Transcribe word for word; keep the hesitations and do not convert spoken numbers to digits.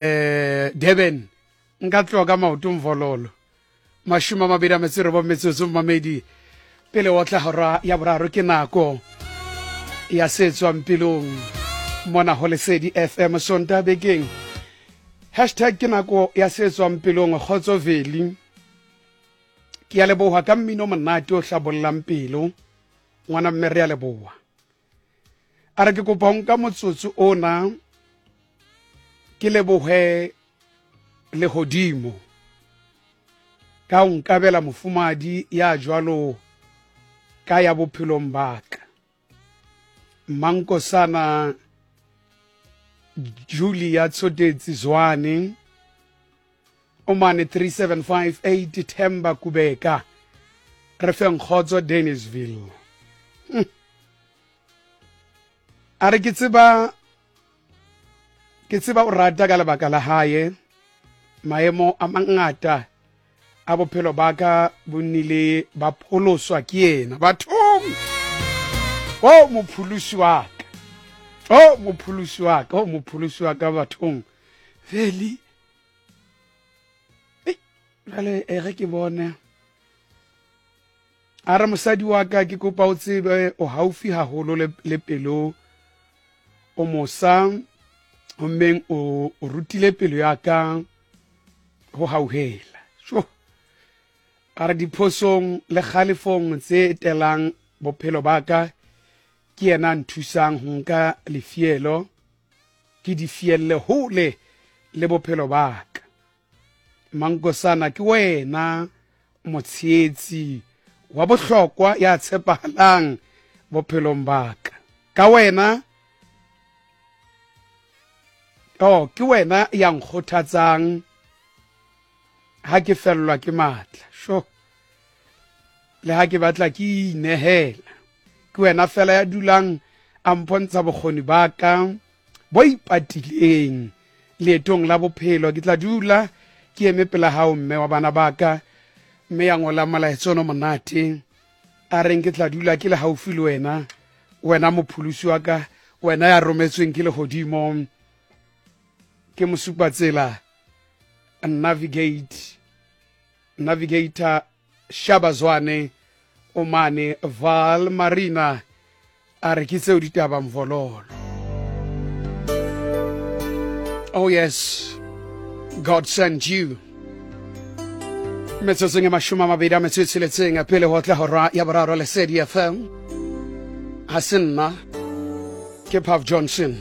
eh Durban nka tloga ka maoto mvololo. Mashome a mabedi a metso e robong metsotso mamedi pele o tla hora ya boraro ke nako ya se tswang pelong mona ho Lesedi F M Sontaha bekeng. Hashtag ke nako ya se tswang pelong. Kgotso Veli, ke a leboha ka mmino monate o hlabollang pelo ngwana mme re a leboha. A re ke kopa ho nka motsotso ona ke lebohe lehodimo ka ho nkabela mofumadi ya jwalo ka ya bophelong ba ka. Mankosana Julia Tsodetsi Zwane o mane three seven five eight Themba Kubeka re feng kgotso Dennisville. Hm. A re ke tseba ke tseba o rata ka lebaka la hae maemo a mangata a bophelo ba ka bo nnile ba pholoswa ke yena bathong. O mopholosi wa ka, o mopholosi wa ka, o mopholosi wa ka bathong. Veli jale e re ke bone. A re mosadi wa ka ke kopa o tsebe o haufi haholo le, le pelo, o mosa hommeng o, o rutile pelo ya ka ho hauhela. Sho a re diphosong le kgalefong tse etelang bophelo ba ka ke yena a nthusang ho nka lefielo ke di fielle hole le bophelo ba ka. Mankosana ke wena motshehetsi wa bohlokwa ya tshepahalang bophelong ba ka. Ka wena oh ke wena ya nkgothatsang ha ke fellwa ke matla. Sho le ha ke batla ke inehela, ke wena fela ya dulang a mpontsha bokgoni ba ka bo ipatileng leetong la bophelo. Ke tla dula ke eme pela hao mme wa bana ba ka, mme ya ngola molaetsa ono monate a reng ke tla dula ke le haufi le wena, wena mopholosi wa ka, wena ya rometsweng ke lehodimo, ke mosupatsela navigate navigator Shabazwane o mane Val Marina. A re ke tseo ditaba mvololo. Oh yes, God sent you. Metsotsong e mashome a mabedi a metso e tsheletseng pele ho tla hora ya boraro Lesedi F M. Ha se nna ke Puff Johnson.